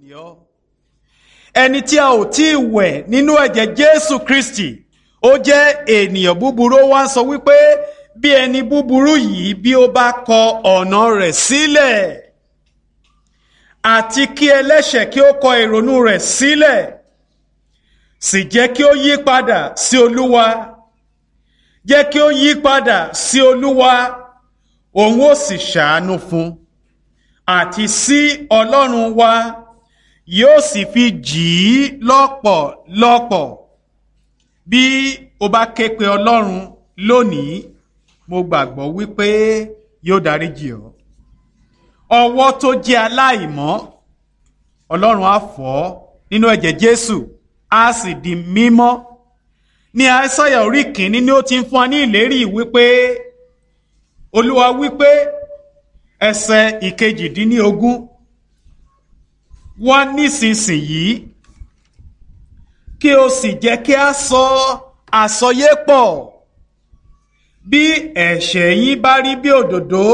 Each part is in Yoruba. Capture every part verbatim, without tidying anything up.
Ni ọ́. Ẹni tí a ò tí ì wẹ̀ nínú ẹ̀jẹ̀ Jésù Kristi, ó jẹ́ ènìyàn búburú. Ó wá ń sọ wípé bí ẹni búburú yìí bí ó bá kọ ọ̀nà rẹ̀ sílẹ̀, àti kí ẹlẹ́ṣẹ̀ kí ó kọ ìrònú rẹ̀ sílẹ̀, sì jẹ́ kí ó yí padà sí Olúwa, jẹ́ kí ó yí padà sí Olúwa, òun ó sì ṣàánú fún, àti sí Ọlọ́run wa yóò sì fi jì í lọ́pọ̀lọpọ̀. Bí o bá ké pe Ọlọ́run lónìí, mo gbàgbọ́ wípé yóò dáríjì ọ́. Ọwọ́ tó jẹ́ aláìmọ́, Ọlọ́run á fọ̀ ọ́ nínú ẹ̀jẹ̀ Jésù, á sì di mímọ́. Ní Aísáyà orí kìíní ni ó ti ń fún wa ní ìlérí wípé Olúwa wípé, ẹsẹ̀ ìkejìdínlógún, wá nísinsìnyí kí o sì jẹ́ kí a sọ àsọyé pọ̀. Bí ẹ̀ṣẹ̀ yín bá rí bí òdòdó,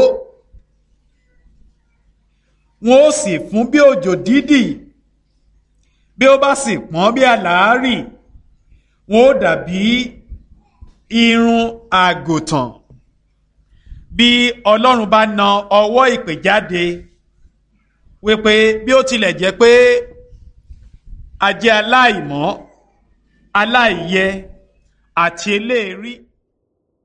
wọn ó sì fún bí òjò dídì; bí ó bá sì pọ́n bí àlàárì, wọn ó dàbí irun àgùntàn. Bí Ọlọ́run bá na ọwọ́ ìpè jáde wípé bí ó tilẹ̀ jẹ́ pé a jẹ́ aláìmọ́, aláìyẹ àti eléèrí.